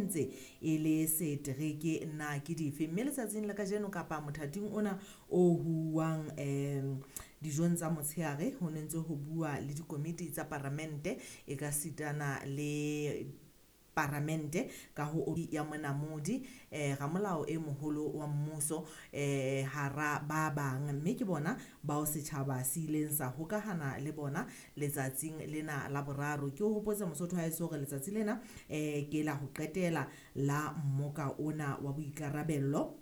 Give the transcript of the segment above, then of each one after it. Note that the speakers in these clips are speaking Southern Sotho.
ntse e le setereke na ke dife. Mme letsatsing la kajeno kapa mothating ona o huwang dijong tsa motshehare ho ne ntse ho bua le dikomiti tsa paramente e ka sitana le paramente ka ho ya Monamodi ramolao e moholo wa mmuso hara ba bang, mme ke bona bao setjhaba se ileng sa hokahana le bona letsatsing lena la boraro. Ke o hopotse Mosotho haeso hore letsatsi lena ke la ho qetela la mmoka ona wa boikarabello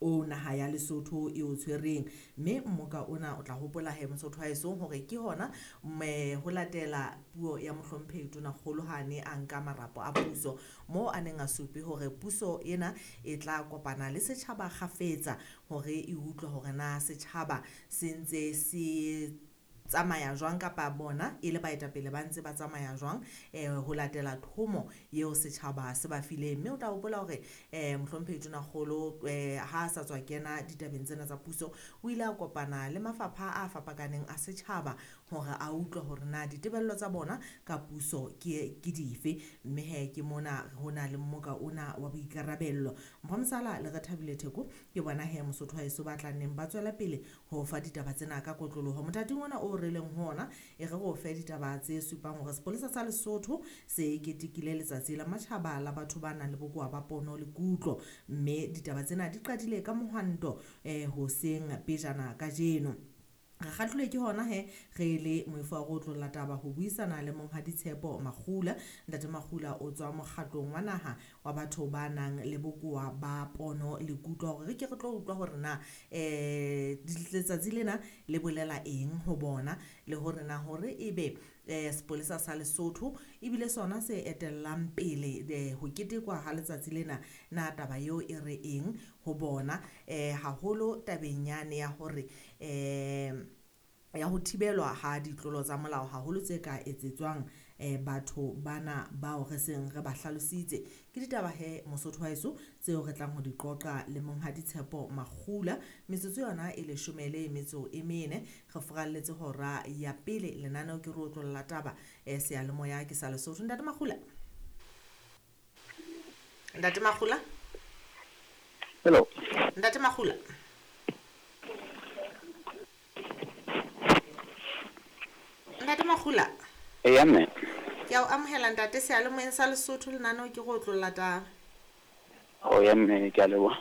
o naha ya Lesotho e o tshwereng, mme mmoka ona o tla hopola he Mosotho haeso hore ke hona ho latela puo ya mohlomphehi Tonakgolo ha ne a nka marapo a puso moo a neng a supe hore puso ena e tla kopana le setjhaba kgafetsa hore e utlwe hore na setjhaba se ntse se tsamaya jwang kapa bona e le baetapele ba ntse ba tsamaya jwang ho latela thomo eo setjhaba se ba fileng. Mme o tla hopola hore mohlomphehi Tonakgolo ha a sa tswa kena ditabeng tsena tsa puso o ile a kopana le mafapha a fapakaneng a setjhaba hore a utlwe hore na ditebello tsa bona ka puso ke dife, mme he ke mona ho na le mmoka ona wa boikarabello. Mpho Mosala le Rethabile Theko ke bona he Mosotho haeso ba tla nneng ba tswela pele ho fa ditaba tsena ka kotloloho. Mothating ona o re leng ho ona e re go fe ditaba tse supang hore sepolesa sa Lesotho se ketekile letsatsi la matjhaba la batho ba nang le bokowa ba pono le kutlo, mme ditaba tsena di qadile ka mohwanto hoseng pejana kajeno. Re kgahlilwe ke hona he re le moifo wa go otlolla taba ho buisana le Monghadi Tshepo Makgula. Ntate Makgula o tswa mokgatlong wa naha wa batho ba nang le bokowa ba pono le kutlo hore re ke re tlo utlwa hore na letsatsi lena le bolela eng ho bona le hore na hore ebe sepolesa sa Lesotho ebile sona se etellang pele ho ketekwa ha letsatsi lena, na taba eo e re eng ho bona haholo tabeng yane ya hore ya ho thibelwa ha ditlolo tsa molao haholo tse ka etsetswang batho bana bao re seng re ba hlalositse. Ke ditaba he Mosotho wa heso tseo re tlang ho di qoqa le Monghadi Tshepo Makgula. Metsotso yona e 14 re furalletse hora ya pele lenaneo ke re otlolla taba seyalemoya ke sa Lesotho. Ntate Makgula, Ntate Makgula, hello Ntate Makgula, Ntate Makgula. Eya mme. Ke a o amohela ntate seyalemoyeng sa Lesotho lenaneo ke go otlolla taba. O ya mme, ke a leboha.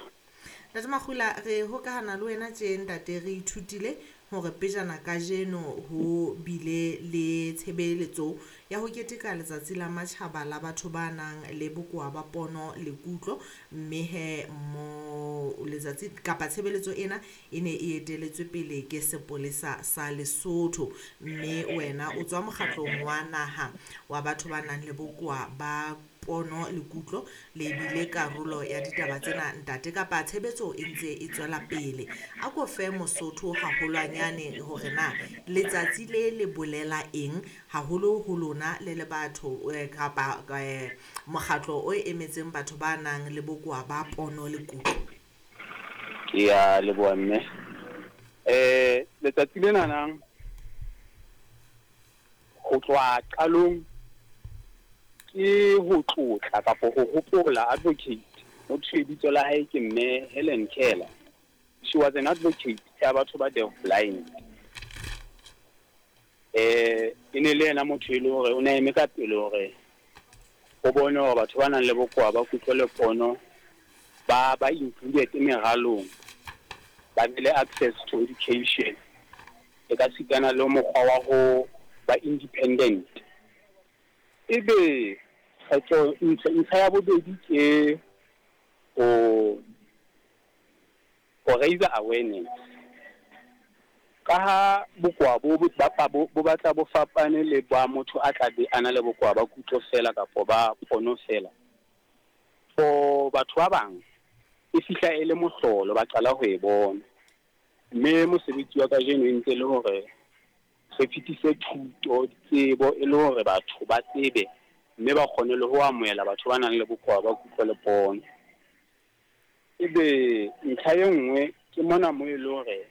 Ntate Makgula, re hokahana le wena tje ntate, re ithutile hore pejana kajeno ho bile le tshebeletso ya ho keteka letsatsi la matjhaba la batho ba nang le bokowa ba pono le kutlo, mme he mo letsatsi kapa tshebeletso ena e ne e eteletswe pele ke sepolesa sa Lesotho, mme wena o tswa mokgatlong wa naha wa batho ba nang le bokowa ba pono le kutlo le bile karolo ya ditaba tsena ntate, kapa tshebetso e ntse e tswela pele. A ko fe Mosotho haholwanyane hore na letsatsi le le bolela eng haholo ho lona le le batho kapa mokgatlo o emetseng batho ba nang le bokowa ba pono le kutlo. Ke a leboha mme. Letsatsi lena nang ho tloha qalong ke ho tlotla kapa ho hopola advocate ho thwe bitso la hae ke mme Helen Keller. She was an advocate ya batho ba deaf blind. E ne le yena motho e le hore o ne eme ka pele hore o bone hore batho ba nang le bokowa ba kutlo le pono ba included meralong, ba be le access to education, e ka sitana le mokgwa wa ho ba independent. Ebe kgetho ntlha ya bobedi ke ho raise awareness. Ka ha bokowa bo batla bo fapane le ba motho a tla be a na le bokowa ba kutlo fela kapa ba pono fela. For batho ba bang e fihla e le mohlolo, ba qala ho e bona. Mme mosebetsi wa kajeno e ntse le hore re fetise thuto, tsebo e le hore batho ba tsebe mme ba kgone le ho amohela batho ba nang le bokowa ba kutlo le pono. Ebe ntlha e nngwe ke mona mo e le hore